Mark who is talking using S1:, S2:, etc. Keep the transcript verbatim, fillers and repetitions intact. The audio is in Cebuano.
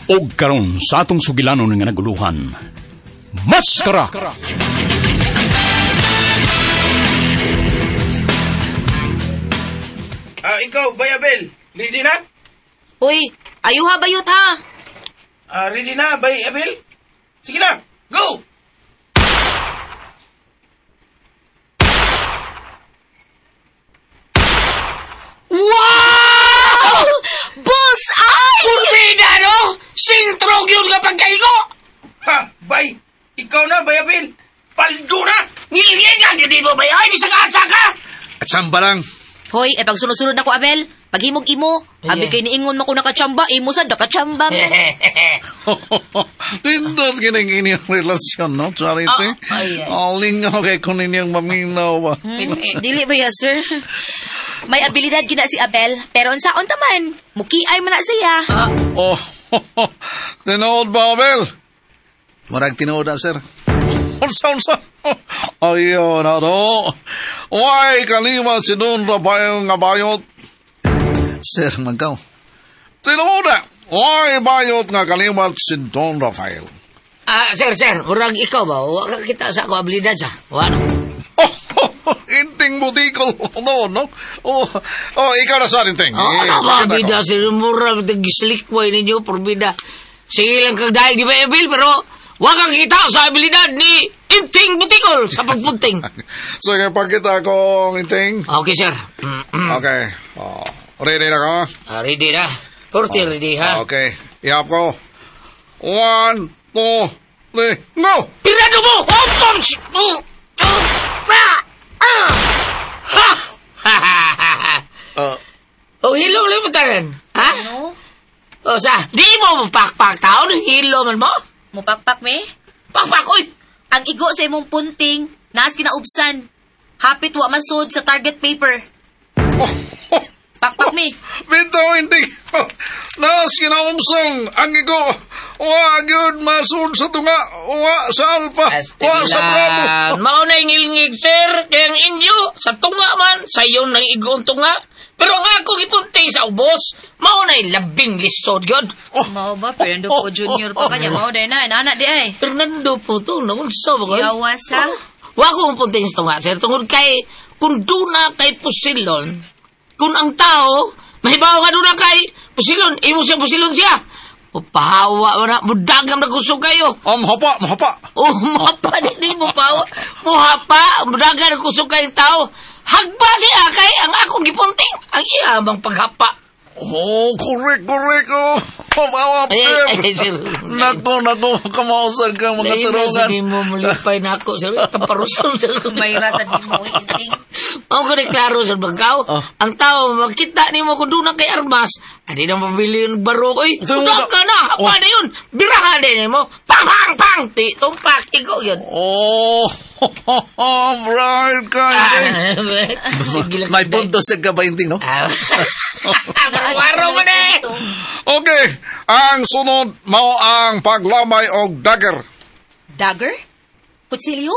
S1: Og karon sa atong sugilanon nga naguluhan, Maskara!
S2: Ah, ikaw, Bay Abel, ready na?
S3: Uy, ayuha bayot ha.
S2: Ah, ready na, Bay Abel? Sige na, go!
S3: Wow! Bullseye!
S4: Purbida, no? Sintrog yun nga pagkaigo!
S2: Ha, Bay, ikaw na, Bay Abel. Paldo na!
S4: Ngilinggan yun di mo ba yun? Ay, bisag asa ka!
S5: At samba lang.
S3: Hoy, eh pagsunod-sunod na ko, Abel. Paghimog imo. Abi
S4: Yeah.
S3: kay niingon mo ko nakachamba, imo sad nakachamba.
S5: Nindot kining inyong relasyon, no, Charity?
S4: Ah, ay, ay.
S5: Oh, lingaw kay kung ninyong maminaw ba?
S3: Dili ba ya, sir? May abilidad gina si Abel, pero unsaon ta man? Mukiay man na siya.
S5: Oh, tinuod ba, Abel? Murag tinuod na, sir. Unsa, unsa? Ayaw na to. Why kaliwat si Don Rafael nga bayot? Sir, magkaw. Tinuod na. Why bayot nga kaliwat si Don Rafael?
S4: Ah, sir, sir, murag ikaw ba? Wa ka kita sa ako abilidad sa. Wa no?
S5: Oh, inting butikol. No, no? Oh, oh, ikaw na sa inting.
S4: Oh,
S5: Eh,
S4: ano ba,
S5: pakita ko.
S4: bida, sir, murag gislikway ninyo, purbida. Sige lang kag daig di ba, Abel, pero wa kang kita sa abilidad ni Inting Butikol sa pagpunting.
S5: Sige, pagkita kong inting.
S4: Okay, sir. Mm, mm.
S5: Okay. Oh, ready na ka?
S4: Ah, ready na. Forty ready, ha?
S5: Okay. Ihap ko. One, two, three, go!
S4: Pirado mo! Oh, oh, oh, ah, ah. Ha! Ha, ha, ha, ha.
S5: Uh,
S4: Oh, hilo mo lang tanan. Ha?
S3: Ano?
S4: O sa, di mo mapakpak taon, hilo man mo?
S3: Mupakpak me?
S4: Pakpak, oy!
S3: Ang igo sa imong punting, naas kinaubsan. Hapit wa masud sa target paper.
S5: oh, oh,
S3: Pakpak me.
S5: bitaw, inting. Nas kinaumsang ang igo. Wa gyud masud sa tunga. Wa sa alpa. Wa sa bravo.
S4: Mao na ingilngig, sir. Kaya ang inyo, sa tunga man, sa iyo nang igoong tunga. Pero ang ako gipunting sa ubos, mao na labing lisod yun.
S3: Mao ba Fernando po Junior pa kanya mao day na inana di ay.
S4: Fernando po to, naunsa ba kayo?
S3: Yawas ha.
S4: Wa ko punting sa tunga, sir. Tungod kay, kung duna kay pusilon, kung ang tao, mahibaw ka duna kay pusilon, imo siya pusilon siya. Pahawa mo na, mudagam na kusog kayo.
S5: Um, hapa, mahapa.
S4: Oh, muhapa, di, di mo pahawa. Muhapa, mudagan na kusog kayong tao. Hagpa siya kay ang akong gipunting, ang iya bang paghapa.
S5: Oh, correct, correct. Oh, Mawa,
S4: Ay, ay, ay, sir.
S5: Nako, nako, kamausag ka mga
S4: Lain na sa
S5: turungan.
S4: di mo mulipay na ako, sir. Kaparuson, sir.
S3: May rasa di mo inting.
S4: Ang ko klaro sa bangkaw,
S5: Oh.
S4: ang tao, makita ni mo kung doon na kay armas, adi na mabili yung barok, oy,
S5: Sir,
S4: kuda
S5: wala-
S4: ka na, hapa
S5: Oh.
S4: na yun, birahan din mo, pang, pang, pang, ti, tumpak, ikaw yun.
S5: Oh, bright ka.
S4: Ah, sige lang.
S5: May punto sa kabainting, no?
S4: Ah, Waro mo na eh.
S5: Okay, ang sunod mao ang paglamay og dagger.
S3: Dagger? Kutsilyo?